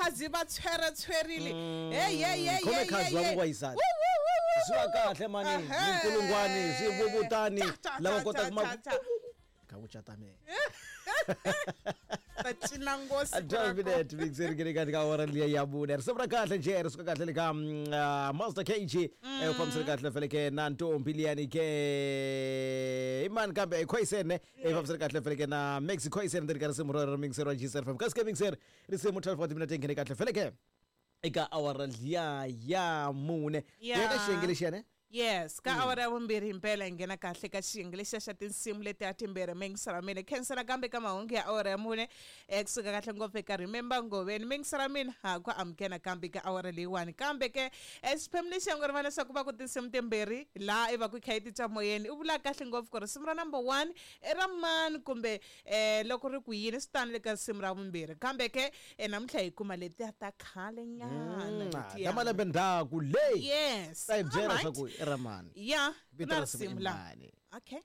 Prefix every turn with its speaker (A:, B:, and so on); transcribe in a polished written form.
A: khazi va tshweratshwerile. Hey, hey, hey,
B: Khome
A: hey,
B: khazi
A: hey,
B: wa
A: hey.
B: vuvayisani.
A: Woo, woo, woo, woo,
B: Swi va
A: woo.
B: kahle mani,
A: Ahee.
B: minkulungwani, swivuvutani,
A: Ta, ta,
B: lava
A: ta,
B: kotaka
A: ta,
B: ma-
A: ta, ta.
B: Ka ku cata mehe.
A: Ta cina nghozi
B: 12 minutes mixeri ke ka ka awara liya ya mune. Risimu ra kahle nje ri suka kahle le ka Master KG, u fambisile kahle fele ke na ntombi liyani ke i mani kambe i Khoisen, u fambisile kahle fele ke na Maxi Khoisen ndzeni ka risimu ra mixeri wa GCR FM. Kasi ke mixeri risimu 12 wa timinete nghene kahle fele ke eka awara liya ya mune.
A: Ya.
B: Ya ka xiyenge lexiya ne.
A: Yes, ka awara ya vumbirhi himpela hi nghena kahle ka xiyenge lexiya xa tinsimu leti a timbirhi mingisela mina khensela kambe ka mahungu ya awara ya mune, kusuka kahle ngopfu eka Remember Ngoveni. Mingisela mina ha ku amukela kambe ka awara leyiwani. Kambe ke, xiphemu lexi ya ngo rivala leswaku va ku tinsimu timbirhi laha i va ku kha yi titwa moyeni, u vula kahle ngopfu ku risimu ra number 1 i ra mani kumbe, loko ri ku yini swi tani le ka risimu ra vumbirhi. Kambe ke, namuntlha hi kuma letiya ta khale nyana letiya.
B: Ta malembe ndzhaku leyi.
A: Yes.
B: Ta hi byela
A: Alright.
B: leswaku i ra mani.
A: Ya,
B: Vito
A: na
B: ra risimu i
A: risimu la.
B: mani.
A: Okay.